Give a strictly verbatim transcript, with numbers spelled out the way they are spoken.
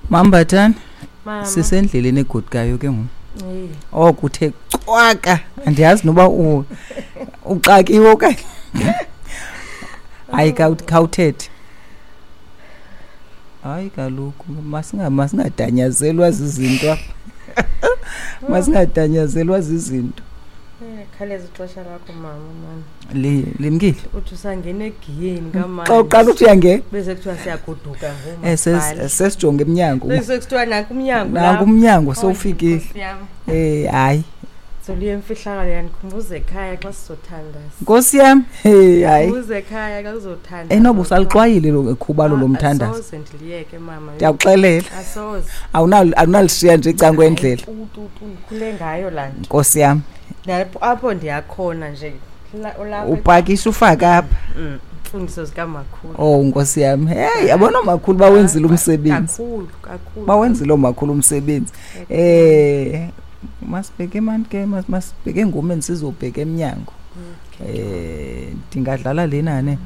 Mambathane, Mama. sisendleleni egodukayo ke ngoku. Eh. Oko uthe cwaka, andiyazi noba u- uxakiwe okanye. Hayi, khawut- khawuthethe. Hayi kaloku, masinga masingadanyazelwa zizinto apha. Masingadanyazelwa zizinto. Eh, khaleza ixesha lakho mama mani. Li limkile. Uthi usangena egiyeni kamani. Xa uqala uthi uyangena. Bese kuthiwa siyagoduka ngoku. Eh ses- sesijonge emnyango. Bese kuthiwa nanku umnyango. Nanku lapha. umnyango Oy, sowufikile. Nkosi yam. Eh hayi. Zoliye imfihlakalo yandikhumbuza ekhaya xa sizothandaza. Nkosi yam, hey hayi. Khumbuza ekhaya xa kuzothandaza. Enoba usalixwayile lo khubalo lomthandazo. Asoze ndiliyeke mama. Ndiyakuxelela. Asoze. Awunal awunalishiya nje ecangwa kwendlela. Tu tu tu ndikhule ngayo laa nto. Nkosi yam, Nalapho apho ndiyakhona nje. La- Ulapha upakisha ufake apha. Mm, imfundiso zikamakhulu. Oh Nkosi yam. Hey, yabona makhulu bawenzile umsebenzi. Kakhulu, kakhulu. Bawenzile omakhulu umsebenzi. Eh masibheke mani ke mas- masibheke engomeni sizobheka emnyango. Okay. Eh ndingadlala lena ne.